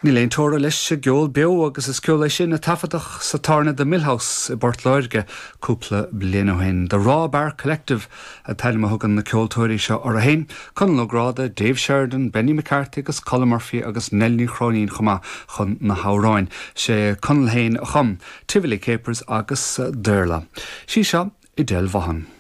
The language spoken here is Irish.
Níl aon teora leis an gceol beo agus is ceol é sin a taifeadadh sa tábhairne The Mill House i bPort Láirge cúpla bliain ó shin. The Raw Bar Collective an t-ainm a thugann na ceoltóirí seo orthu féin, Conall Ó Gráda, Dave Sheridan, Benny McCarthy agus Colm Murphy agus Nell Ní Chróinín chomh maith chun na hamhráin. Sé Conall féin a chum Tivoli Capers agus Daorla. Sí seo Edel Vaughan.